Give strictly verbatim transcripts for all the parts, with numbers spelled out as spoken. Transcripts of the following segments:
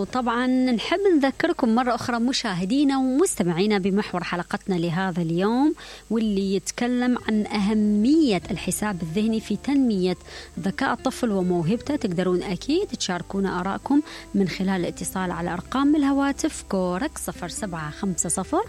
وطبعا نحب نذكركم مرة أخرى مشاهدينا ومستمعينا بمحور حلقتنا لهذا اليوم، واللي يتكلم عن أهمية الحساب الذهني في تنمية ذكاء الطفل وموهبته. تقدرون أكيد تشاركونا آراءكم من خلال الاتصال على أرقام الهواتف كورك صفر سبعة خمسة صفر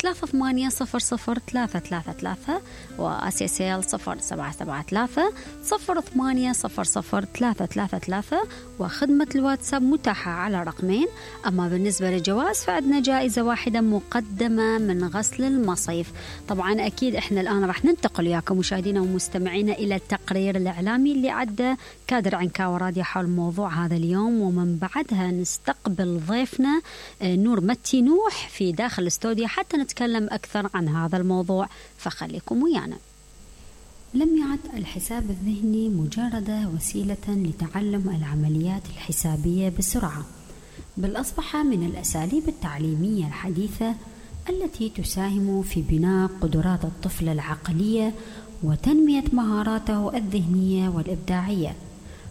ثلاثة ثمانية صفر صفر ثلاثة ثلاثة ثلاثة وأسيسيل صفر سبعة سبعة ثلاثة صفر ثمانية صفر صفر ثلاثة ثلاثة ثلاثة، وخدمة الواتساب متاحة على رقمين. أما بالنسبة للجوائز فعندنا جائزة واحدة مقدمة من غسل المصيف. طبعا أكيد إحنا الآن راح ننتقل وياكم مشاهدينا ومستمعينا إلى التقرير الإعلامي اللي عدى كادر عنكاوي راديو حول موضوع هذا اليوم، ومن بعدها نستقبل ضيفنا نور متي نوح في داخل الاستوديو حتى نتكلم أكثر عن هذا الموضوع، فخليكم ويانا. لم يعد الحساب الذهني مجرد وسيلة لتعلم العمليات الحسابية بسرعة، بل أصبح من الأساليب التعليمية الحديثة التي تساهم في بناء قدرات الطفل العقلية وتنمية مهاراته الذهنية والإبداعية.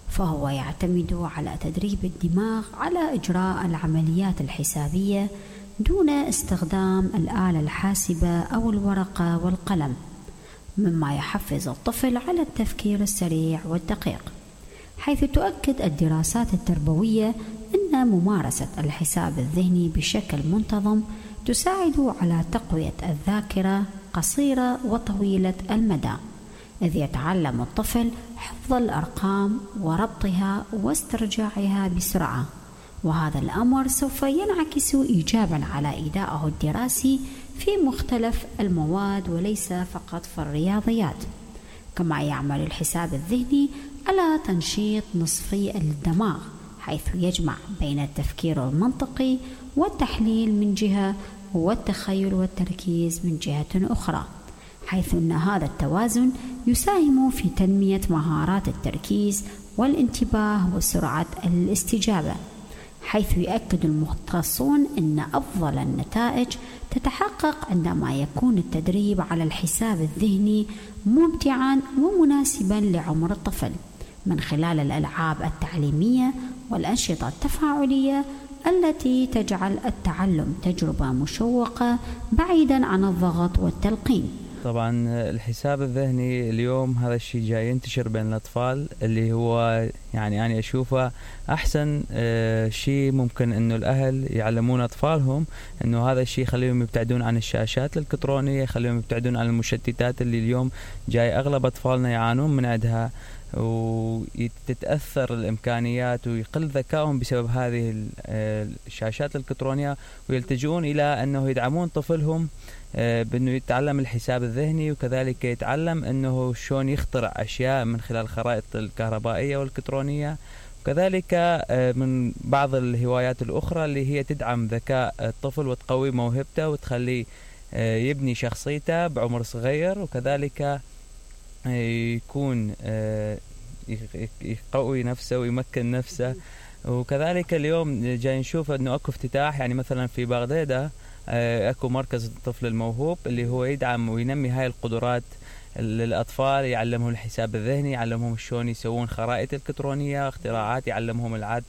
فهو يعتمد على تدريب الدماغ على إجراء العمليات الحسابية دون استخدام الآلة الحاسبة أو الورقة والقلم، مما يحفز الطفل على التفكير السريع والدقيق. حيث تؤكد الدراسات التربوية أن ممارسة الحساب الذهني بشكل منتظم تساعد على تقوية الذاكرة قصيرة وطويلة المدى، إذ يتعلم الطفل حفظ الأرقام وربطها واسترجاعها بسرعة، وهذا الأمر سوف ينعكس إيجابا على أدائه الدراسي في مختلف المواد وليس فقط في الرياضيات. كما يعمل الحساب الذهني على تنشيط نصفي الدماغ، حيث يجمع بين التفكير المنطقي والتحليل من جهة والتخيل والتركيز من جهة أخرى، حيث أن هذا التوازن يساهم في تنمية مهارات التركيز والانتباه وسرعة الاستجابة. حيث يؤكد المختصون أن أفضل النتائج تتحقق عندما يكون التدريب على الحساب الذهني ممتعا ومناسبا لعمر الطفل، من خلال الألعاب التعليمية والأنشطة التفاعلية التي تجعل التعلم تجربة مشوقة بعيدا عن الضغط والتلقين. طبعا الحساب الذهني اليوم هذا الشيء جاي ينتشر بين الأطفال، اللي هو يعني أنا أشوفه أحسن شيء ممكن إنه الأهل يعلمون أطفالهم إنه هذا الشيء يخليهم يبتعدون عن الشاشات الإلكترونية، يخليهم يبتعدون عن المشتتات اللي اليوم جاي أغلب أطفالنا يعانون من عندها، وتتأثر الإمكانيات ويقل ذكائهم بسبب هذه الشاشات الإلكترونية، ويلتجؤون إلى أنه يدعمون طفلهم بأنه يتعلم الحساب الذهني، وكذلك يتعلم أنه شلون يخترع أشياء من خلال الخرائط الكهربائية والإلكترونية، وكذلك من بعض الهوايات الأخرى اللي هي تدعم ذكاء الطفل وتقوي موهبته وتخليه يبني شخصيته بعمر صغير، وكذلك يكون يقوي نفسه ويمكن نفسه. وكذلك اليوم جاي نشوف أنه أكو افتتاح، يعني مثلا في بغداد أكو مركز الطفل الموهوب اللي هو يدعم وينمي هاي القدرات للأطفال، يعلمهم الحساب الذهني، يعلمهم شلون يسوون خرائط إلكترونية، اختراعات، يعلمهم العد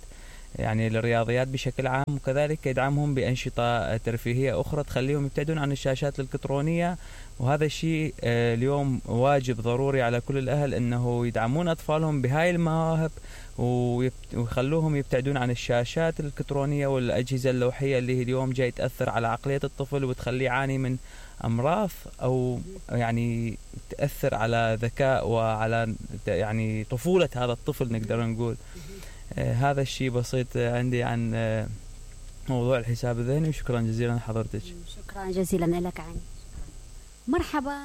يعني الرياضيات بشكل عام، وكذلك يدعمهم بأنشطة ترفيهية أخرى تخليهم يبتعدون عن الشاشات الإلكترونية. وهذا الشيء اليوم واجب ضروري على كل الأهل أنه يدعمون أطفالهم بهاي المواهب ويخلوهم يبتعدون عن الشاشات الإلكترونية والأجهزة اللوحية اللي اليوم جاي تأثر على عقلية الطفل وتخليه يعاني من أمراض أو يعني تأثر على ذكاء وعلى يعني طفولة هذا الطفل نقدر نقول. آه هذا الشيء بسيط عندي عن آه موضوع الحساب الذهني، وشكرا جزيلا لحضرتك. شكرا جزيلا لك عين. مرحبا.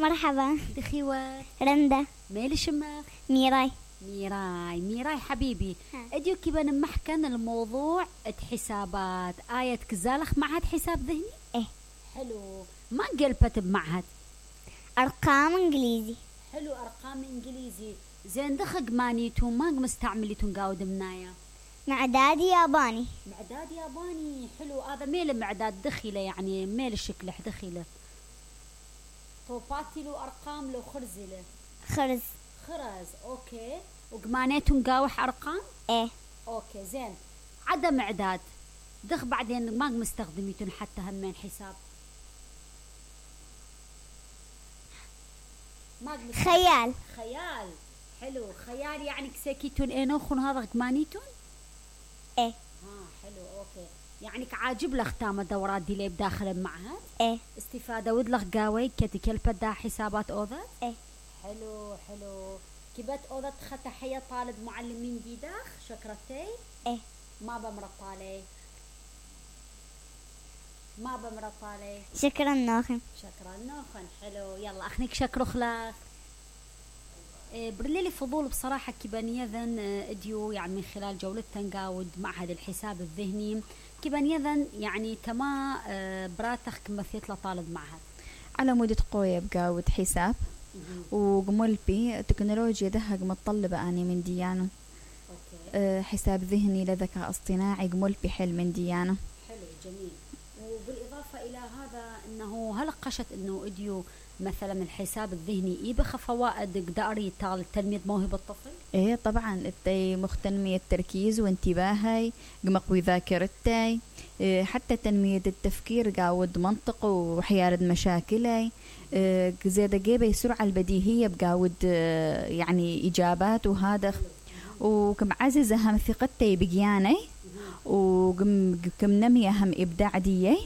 مرحبا. دخيوة. رندا. ميل شماغ. ميراي. ميراي ميراي حبيبي، اديو كيبا نمحكن الموضوع حسابات آية كزالخ معهد حساب ذهني؟ ايه حلو. ما قلبت بمعهد؟ أرقام إنجليزي. حلو، أرقام إنجليزي. زين دخق مانيتو ما مستعمليتو نقاود منايا؟ معداد ياباني. معداد ياباني، حلو. هذا ميل معداد دخيله يعني ميل شكله دخيله طوباتي له أرقام له خرزله خرز خرز. أوكي. وقمانيتو نقاوح أرقام؟ إيه. أوكي زين. عدم إعداد دخ بعدين ما مستخدميتون حتى همين حساب ما خيال. خيال حلو. خيال يعني كساكيتون إنوخون هذا مانيتون. ايه ها حلو اوكي. يعني عاجب لك تام دورات دي اللي بداخل المعهد. ايه استفادة ودلخ قاوي كتي كلبة دا حسابات اوذا. ايه حلو حلو. كبت اوذا تحية طالب معلمين دي داخ شكرتي. ايه ما بمرطالي ما بمرطالي. شكرا نوخن. شكرا نوخن. حلو يلا اخنيك شكرو خلاص. برليلي فضول بصراحة كيبان يذن اديو يعني من خلال جولة تنقاود معهد الحساب الذهني كيبان يذن يعني تما براتخ كمثيت لطالب معهد على مودة قوية بقاود حساب وقمول بي تكنولوجيا دهق متطلبة أني من ديانو. أه حساب ذهني لذكاء اصطناعي قمول بي حل من ديانو. حلو جميل. وبالإضافة إلى هذا أنه هل قشت أنه اديو مثلا الحساب الذهني يبخ فوائد قداري تال تنمية موهبة الطفل؟ ايه طبعا التي مخ تنمية التركيز وانتباهي قمقوي ذاكرتي إيه حتى تنمية التفكير قاود منطق وحيارد مشاكلي إيه زيادة جيبه السرعة البديهية بقاود إيه يعني إجابات وهذا وكم عزز أهم ثقتي بقياني وكم كم نمي أهم إبداع ديي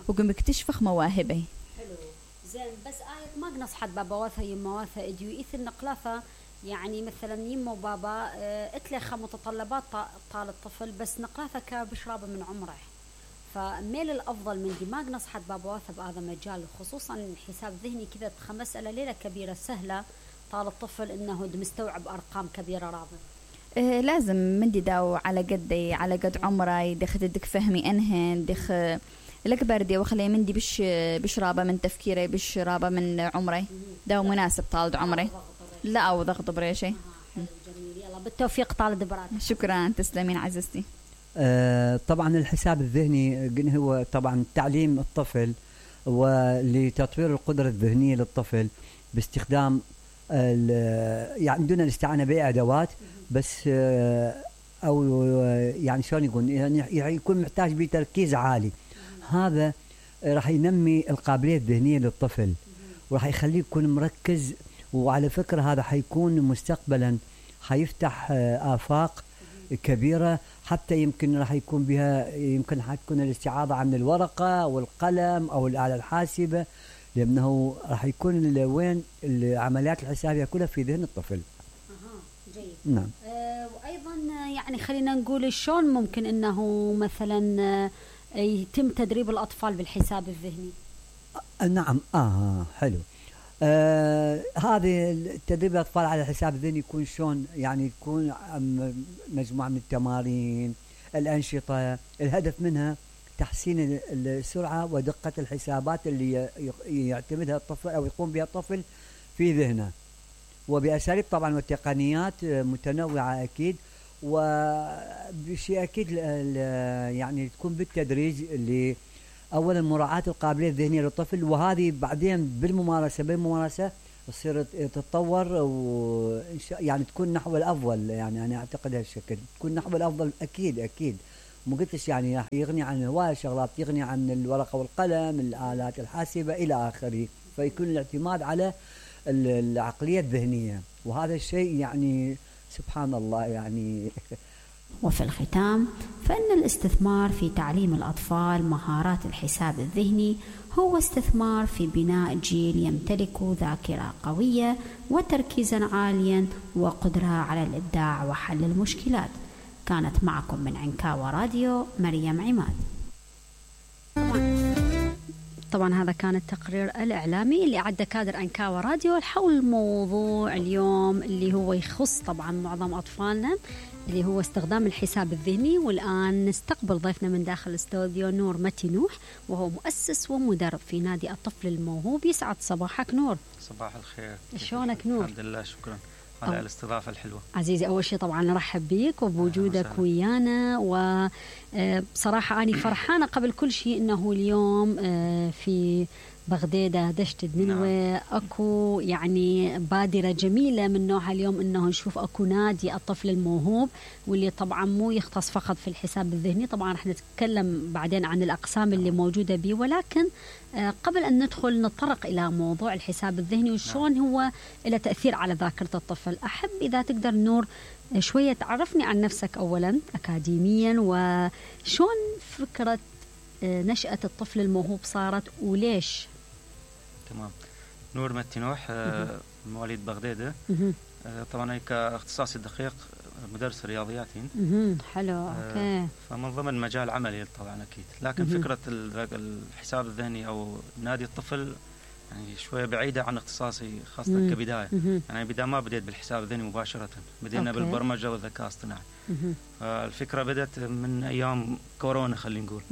وكم اكتشفخ مواهبي. زين بس آية ما نصحت بابا واثا يما واثا اديو إثر نقلافة يعني مثلا يما وبابا اه اتلخ متطلبات طال الطفل بس نقلافة كبشرابة من عمره فميل الأفضل من دي ما نصحت بابا واثا بهذا المجال خصوصا الحساب ذهني كذا مسألة ليلة كبيرة سهلة طال الطفل إنه مستوعب أرقام كبيرة رابط. إيه لازم من دي داو على قدي على قد عمري دخ دك فهمي انهن دخ الأكبر دي وخلي من دي بش بشرابة من تفكيري بشرابة من عمري داو مناسب طالد عمري لا أو ضغط بريشي. جميل يلا بالتوفيق طالد براد. شكرا تسلمين عزيزتي. آه طبعا الحساب الذهني هو طبعا تعليم الطفل ولتطوير القدرة الذهنية للطفل باستخدام يعني دون الاستعانة بأدوات بس آه أو يعني شلون يقول يعني يكون محتاج بتركيز عالي. هذا راح ينمي القابلية الذهنية للطفل وراح يخليه يكون مركز وعلى فكرة هذا حيكون مستقبلا حيفتح آفاق كبيرة حتى يمكن راح يكون بها يمكن حتكون الاستعاضة عن الورقة والقلم أو الآلة الحاسبة لأنه راح يكون وين العمليات الحسابية كلها في ذهن الطفل. أها جيد. نعم. أه وأيضا يعني خلينا نقول شلون ممكن أنه مثلا يتم تدريب الأطفال بالحساب الذهني؟ نعم آه حلو. آه هذه تدريب الأطفال على الحساب الذهني يكون شلون يعني يكون مجموعة من التمارين الأنشطة الهدف منها تحسين السرعة ودقة الحسابات اللي يعتمدها الطفل أو يقوم بها الطفل في ذهنه وبأساليب طبعا وتقنيات متنوعة أكيد وبشيء أكيد يعني تكون بالتدريج اللي أولا مراعاة القابلية الذهنية للطفل وهذه بعدين بالممارسة بالممارسة تصير تتطور و يعني تكون نحو الأفضل يعني أنا أعتقد هالشكل تكون نحو الأفضل أكيد أكيد مو قلتش يعني يغني عن هواية شغلات يغني عن الورقة والقلم الآلات الحاسبة إلى آخره فيكون الاعتماد على العقلية الذهنية وهذا الشيء يعني سبحان الله يعني. وفي الختام فإن الاستثمار في تعليم الأطفال مهارات الحساب الذهني هو استثمار في بناء جيل يمتلك ذاكرة قوية وتركيزا عاليا وقدرة على الإبداع وحل المشكلات. كانت معكم من عنكاوة راديو مريم عماد. طبعا هذا كان التقرير الإعلامي اللي عد كادر عنكاوة راديو حول موضوع اليوم اللي هو يخص طبعا معظم أطفالنا اللي هو استخدام الحساب الذهني. والآن نستقبل ضيفنا من داخل الاستوديو نور متي نوح وهو مؤسس ومدرب في نادي الطفل الموهوب. يسعد صباحك نور. صباح الخير. شلونك نور؟ الحمد لله شكرا على الاستضافة الحلوة. عزيزي أول شيء طبعا نرحب بيك وبوجودك ويانا وبصراحة أنا فرحانة قبل كل شيء أنه اليوم في بغدادة، دشت النينوى. نعم. اكو يعني بادرة جميلة من نوعها اليوم انه نشوف اكو نادي الطفل الموهوب، واللي طبعا مو يختص فقط في الحساب الذهني، طبعا رح نتكلم بعدين عن الاقسام اللي موجودة به، ولكن قبل ان ندخل نتطرق الى موضوع الحساب الذهني وشون هو له تأثير على ذاكرة الطفل، احب اذا تقدر نور شوية تعرفني عن نفسك اولا اكاديميا، وشون فكرة نشأة الطفل الموهوب صارت وليش؟ تمام. نور متي نوح، مواليد بغدادة. طبعا هيك اختصاصي الدقيق مدرس رياضيات. حلو. اوكي. فمن ضمن مجال عملي طبعا اكيد، لكن فكرة الحساب الذهني او نادي الطفل يعني شوية بعيدة عن اختصاصي خاصة مم. كبداية. مم. يعني بداية ما بديت بالحساب الذهني مباشرة، بدينا أوكي. بالبرمجة والذكاء الاصطناعي. الفكرة بدت من أيام كورونا خلينا نقول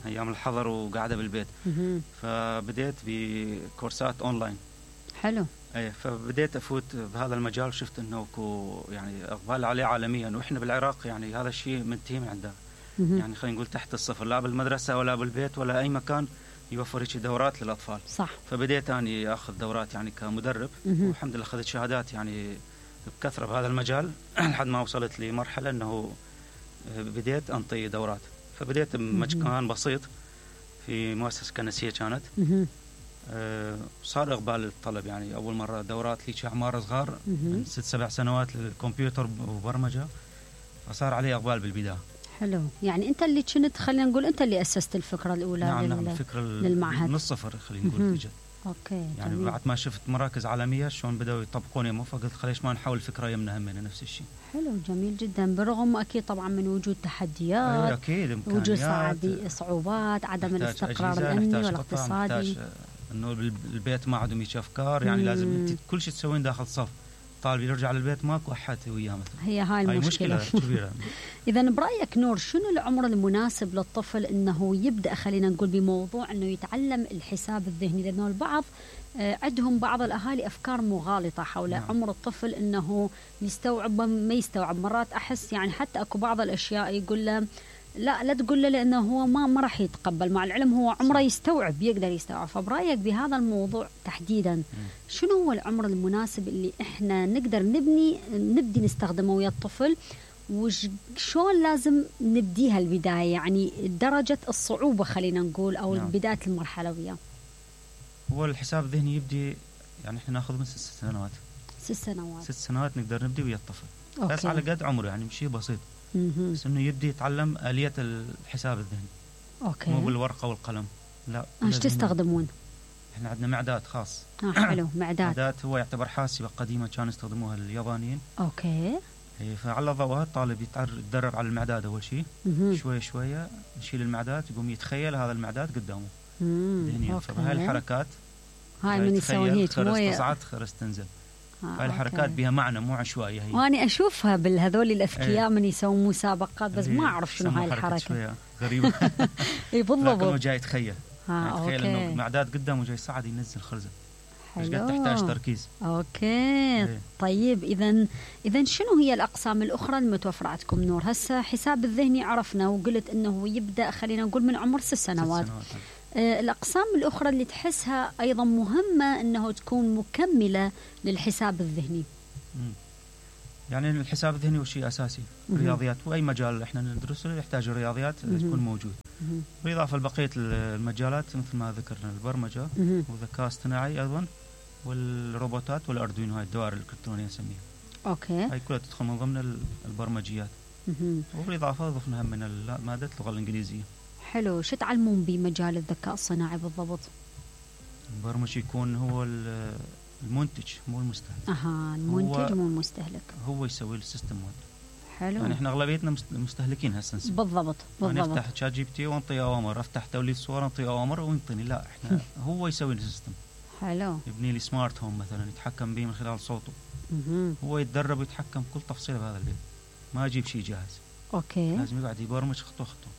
أيام الحظر وقاعدة بالبيت. مم. فبديت بكورسات أونلاين. حلو. أي فبديت أفوت بهذا المجال، وشفت إنه يعني أقبال عليه عالميا، وإحنا بالعراق يعني هذا الشيء منتهي من عندنا. يعني خلينا نقول تحت الصفر، لا بالمدرسة ولا بالبيت ولا أي مكان يوفر هيك دورات للأطفال. صح. فبديت أني أخذ دورات يعني كمدرب، والحمد لله أخذت شهادات يعني بكثرة بهذا المجال لحد ما وصلت لمرحلة أنه بديت أنطي دورات. فبديت بمكان بسيط في مؤسسة كنسية كانت. أه صار إقبال الطلب، يعني أول مرة دورات لي أعمار صغار من ست سبع سنوات للكمبيوتر وبرمجة، فصار عليه إقبال بالبداية. حلو. يعني أنت اللي كنت خلينا نقول أنت اللي أسست الفكرة الأولى. نعم نعم الفكرة للمعهد من الصفر خلينا نقول بجد. اوكي. يعني جميل. بعد ما شفت مراكز عالمية شلون بدأوا يطبقون يمه، فقلت خليش ما نحاول فكرة يمنا همنا نفس الشيء. حلو جميل جدا، برغم أكيد طبعا من وجود تحديات. أكيد وجود صعدي صعوبات، عدم الاستقرار الأمني والاقتصادي، إنه البيت ما عندهم هيك أفكار. يعني لازم أنت كل شيء تسوين داخل صف، طالب يرجع للبيت ماكو أحد وياه مثلا. هي هاي المشكلة, مشكلة كبيرة. إذا برأيك نور شنو العمر المناسب للطفل إنه يبدأ خلينا نقول بموضوع إنه يتعلم الحساب الذهني؟ لأنه البعض عندهم بعض الأهالي أفكار مغالطة حول نعم. عمر الطفل إنه يستوعب ما يستوعب. مرات أحس يعني حتى أكو بعض الأشياء يقول له لا لا تقول له لأنه هو ما ما راح يتقبل، مع العلم هو عمره يستوعب يقدر يستوعب. فبرأيك بهذا الموضوع تحديدا شنو هو العمر المناسب اللي إحنا نقدر نبني نبدي نستخدمه ويا الطفل، وشون لازم نبديها البداية، يعني درجة الصعوبة خلينا نقول أو نعم. بداية المرحلة وياه؟ هو الحساب الذهني يبدي يعني إحنا ناخذ من ست سنوات. ست سنوات ست سنوات نقدر نبدي ويا الطفل. أوكي. بس على قد عمره يعني شيء بسيط. مم. بس إنه يبدي يتعلم آلية الحساب الذهني. أوكي. مو بالورقة والقلم. لا. إيش تستخدمون؟ إحنا عندنا معدات خاص. آه حلو. معدات. معدات هو يعتبر حاسبة قديمة كانوا يستخدموها اليابانيين. أوكي. فعلى ضوءها الطالب يتدرب على المعدات أول شيء. شوية شوية نشيل المعدات، يقوم يتخيل هذا المعدات قدامه. ذهنيا. فهاي الحركات. هاي من يسوي هيك خرس تصعد خرس تنزل. آه هاي الحركات بها معنى مو عشوائية هي. وأنا أشوفها بالهذول الأذكياء ايه. من يسوون مسابقات بس ما أعرف شنو هاي الحركة. غريبة. إيه بالضبط. لكنه جاي يتخيل. آه يتخيل إنه المعدات قدامه جاي يصعد ينزل خرزة. حلو. قد تحتاج تركيز. اوكي. ايه. طيب اذا اذا شنو هي الاقسام الاخرى المتوفره عندكم نور؟ هسه حساب الذهني عرفنا وقلت انه يبدا خلينا نقول من عمر ست سنوات. ست سنوات. آه الاقسام الاخرى اللي تحسها ايضا مهمه انه تكون مكمله للحساب الذهني. مم. يعني الحساب الذهني هو شيء اساسي. الرياضيات واي مجال احنا ندرسه يحتاج الرياضيات تكون موجود. مم. بالاضافه لبقيه المجالات مثل ما ذكرنا البرمجه والذكاء الاصطناعي ايضا والروبوتات والاردوينو، هاي الدوائر الالكترونيه نسميها. اوكي. هاي كلها تدخل من ضمن البرمجيات. وبالاضافه ضفنا هم من ماده اللغه الانجليزيه. حلو. شو تعلمون بمجال الذكاء الصناعي بالضبط؟ البرمجي يكون هو المنتج مو المستهلك. اها المنتج مو المستهلك. هو يسوي السيستم مود. حلو. يعني احنا اغلبيتنا مستهلكين هسه. بالضبط بالضبط. يعني افتح شات جي بي تي وانطي اوامر، افتح توليد صور انطي اوامر وينطيني. لا احنا هو يسوي السيستم. حلو. يبني لي سمارت هوم مثلا يتحكم به من خلال صوته. مم. هو يتدرب ويتحكم كل تفصيله بهذا البيت، ما يجيب شيء جاهز. اوكي. لازم يقعد يبرمج خطوه خطوه.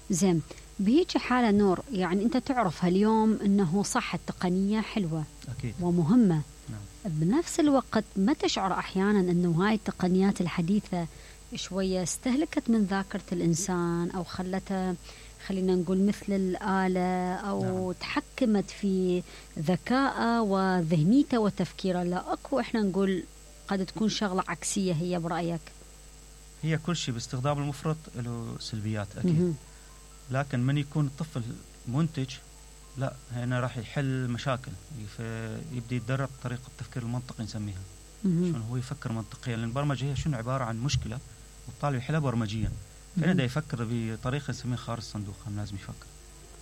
زين. بهيك حاله نور يعني انت تعرف هاليوم انه صح التقنيه حلوه اكيد ومهمه. نعم. بنفس الوقت ما تشعر احيانا انه هاي التقنيات الحديثه شوية استهلكت من ذاكرة الإنسان أو خلته خلينا نقول مثل الآلة أو نعم. تحكمت في ذكائه وذهنيته وتفكيره. لا أكو إحنا نقول قد تكون شغلة عكسية هي برأيك؟ هي كل شيء باستخدام المفرط له سلبيات أكيد. م-م. لكن من يكون الطفل منتج لا هنا راح يحل مشاكل، يبدأ يتدرب طريقة التفكير المنطقي نسميها. شلون هو يفكر منطقيا، لأن البرمجة هي شنو عبارة عن مشكلة والطالب يحلها برمجيا، فهنا دا يفكر بطريقة نسميها خارج الصندوق. هم لازم يفكر،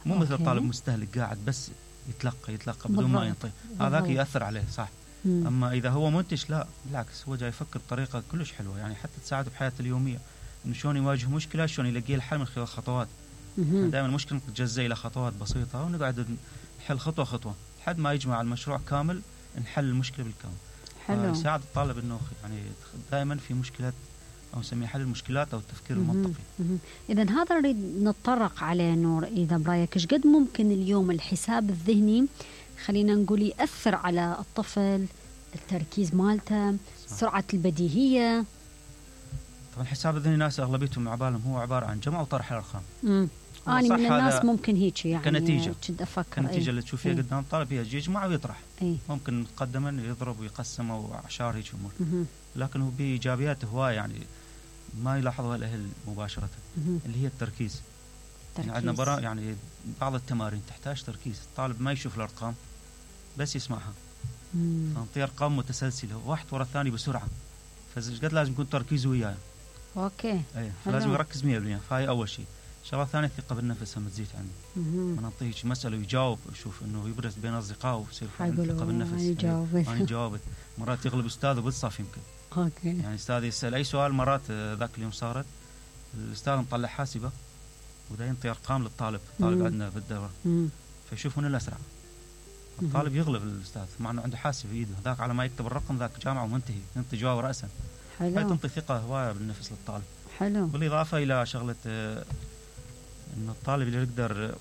مو مثل الطالب مستهلك قاعد بس يتلقى يتلقى بدون ما ينطي، هذاك يأثر عليه صح. مم. أما إذا هو منتج لا بالعكس، هو جاي يفكر بطريقة كلش حلوة، يعني حتى تساعده بحياته اليومية إنه شلون يواجه مشكلة، شلون يلاقي الحل من خلال خطوات. دائما المشكلة تتجزأ إلى خطوات بسيطة ونقعد نحل خطوة خطوة لحد ما يجمع المشروع كامل، نحل المشكلة بالكامل. حلو. يساعد الطالب إنه يعني دائما في مشكلات أو نسميه حل المشكلات أو التفكير مم. المنطقي. إذا هذا نريد نتطرق عليه نور. إذا برأيك إيش قد ممكن اليوم الحساب الذهني خلينا نقول يأثر على الطفل، التركيز مالته، صح. سرعة البديهية؟ طبعا الحساب الذهني ناس أغلبيتهم عبالهم هو عبارة عن جمع وطرح الأرقام. أنا من الناس ممكن هيك يعني كنتيجة كنت أفكر كنتيجة أي. اللي تشوفيها أي. قدام الطالب هي يجمع ويطرح، أي. ممكن مقدما يضرب ويقسم أو أعشار هيك أمور، لكن هو بإيجابيات هواية يعني ما يلاحظها الأهل مباشرة. مم. اللي هي التركيز. يعني عندنا برا يعني بعض التمارين تحتاج تركيز، الطالب ما يشوف الأرقام بس يسمعها، فنعطيه أرقام متسلسلة واحد ورا الثاني بسرعة، فقد لازم يكون تركيز وياه. أوكي. أيه. فلازم يركز مية بالمية، فهاي أول شيء. شغلة ثانية الثقة بالنفس هم تزيد عنده. ما نعطيه مسألة ويجاوب، يشوف إنه يبرز بين أصدقائه ويصير ثقة بالنفس. يجاوب. أنا جاوبت. مرات يغلب أستاذه بالصف يمكن. أوكي. يعني أستاذ يسأل أي سؤال، مرات ذاك اليوم صارت الأستاذ مطلع حاسبة وده ينطي أرقام للطالب، الطالب عندنا بالدورة، فيشوف من الأسرع. الطالب يغلب الأستاذ مع إنه عنده حاسب بإيده، ذاك على ما يكتب الرقم ذاك جامعة ومنتهي، ينطي جواب رأسا. حلو. هاي تنطي ثقة هواية بالنفس للطالب. حلو. بالإضافة إلى شغلة إنه الطالب اللي يقدر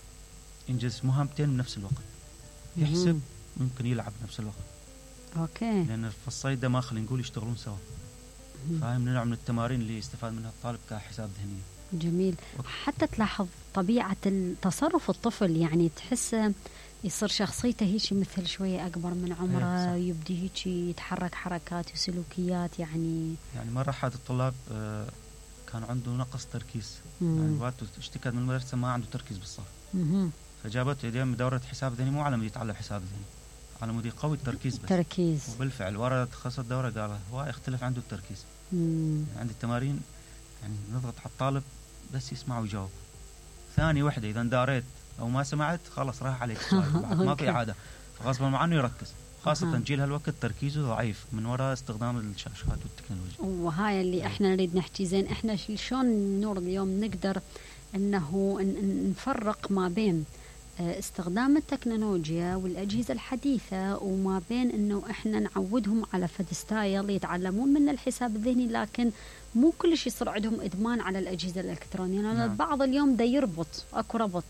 ينجز مهمتين بنفس الوقت، يحسب ممكن يلعب بنفس الوقت. أوكي. لأن في الصيد ما خلينا نقول يشتغلون سوا. فهاي من نوع من التمارين اللي يستفاد منها الطالب كحساب ذهني. جميل. حتى تلاحظ طبيعة تصرف الطفل، يعني تحسه يصير شخصيته هيك مثل شوية أكبر من عمره، يبدي هيك يتحرك حركات وسلوكيات يعني. يعني مرة أحد الطلاب كان عنده نقص تركيز، يعني وقته اشتكت من المدرسة ما عنده تركيز بالصف. مم. فجابته يدين دورة حساب ذهني، مو على مود يتعلم حساب ذهني، على مود يقوي التركيز بس. تركيز. وبالفعل ورا تخصص الدورة قال هو يختلف عنده التركيز. يعني عند التمارين يعني نضغط على الطالب بس يسمع ويجاوب. ثاني وحدة إذا داريت أو ما سمعت خلاص راح عليك السؤال، ما في عادة، فغصبا عنه يركز، خاصة جيل هالوقت تركيزه ضعيف من وراء استخدام الشاشات والتكنولوجيا. وهاي اللي احنا نريد نحكي. زين احنا شلون نور اليوم نقدر انه نفرق ما بين استخدام التكنولوجيا والأجهزة الحديثة وما بين انه احنا نعودهم على فد ستايل يتعلمون من الحساب الذهني، لكن مو كل شيء يصير عندهم ادمان على الأجهزة الإلكترونية. لأن نعم. البعض اليوم دا يربط، اكو ربط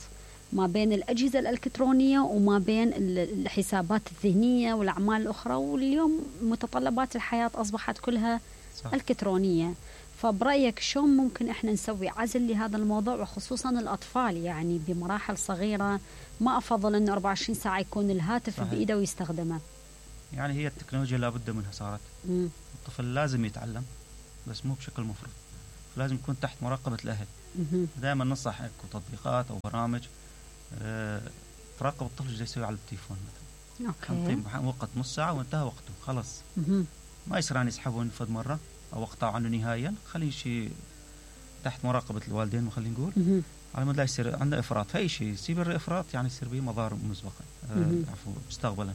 ما بين الأجهزة الإلكترونية وما بين الحسابات الذهنية والأعمال الأخرى، واليوم متطلبات الحياة أصبحت كلها صح. إلكترونية. فبرأيك شلون ممكن إحنا نسوي عزل لهذا الموضوع، وخصوصا الأطفال يعني بمراحل صغيرة؟ ما أفضل أنه أربعة وعشرين ساعة يكون الهاتف صحيح. بإيده ويستخدمه. يعني هي التكنولوجيا لابد منها صارت. مم. الطفل لازم يتعلم بس مو بشكل مفرط، لازم يكون تحت مراقبة الأهل. دائما ننصح اكو تطبيقات او برامج أه تراقب الطفل ايش يسوي على التليفون مثلا. اوكي. وقت نص ساعه وانتهى وقته خلص. مه. ما يصير ان يسحبون فد مره او وقطعوا عنه نهائيا، خليه شيء تحت مراقبه الوالدين وخلينا نقول مه. على مود لا يصير عنده افراط في اي شيء. يصير الافراط يعني يصير به مضار مسبقا أه عفوا مستقبلا.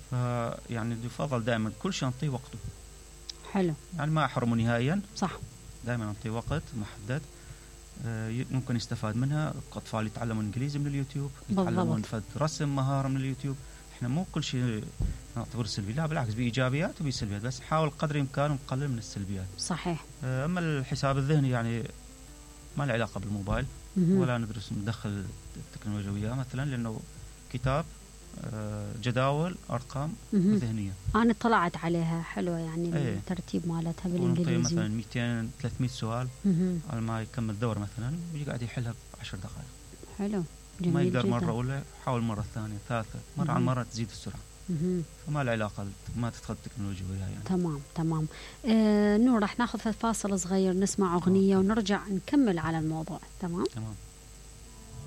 فيعني يفضل دائما كل شيء نعطيه وقته. حلو. يعني ما احرمه نهائيا. صح. دائما نعطيه وقت محدد ممكن يستفاد منها. أطفال يتعلمون إنجليزي من اليوتيوب، يتعلمون فد رسم مهارة من اليوتيوب. إحنا مو كل شيء نعتبر سلبي، لا بالعكس بإيجابيات وبسلبيات، بس نحاول قدر الإمكان نقلل من السلبيات. صحيح. أما الحساب الذهني يعني ما له علاقة بالموبايل ولا ندرس ندخل التكنولوجيا وياه مثلا، لأنه كتاب جداول ارقام مهم. ذهنيه. انا طلعت عليها حلوه يعني ايه. الترتيب مالتها ونعطيه بالانجليزي. مثلا مئتين ثلاثمئة سؤال مهم. على ما يكمل دور مثلا يجي قاعد يحلها بعشر دقائق. حلو جميل ما يقدر جدا. مره اولى حاول مره ثانيه ثالثه مره مهم. عن مره تزيد السرعه. مهم. فما العلاقه ما تدخل التكنولوجيا وياها يعني. تمام تمام. آه نور راح ناخذ فاصل صغير نسمع اغنيه ونرجع نكمل على الموضوع. تمام تمام.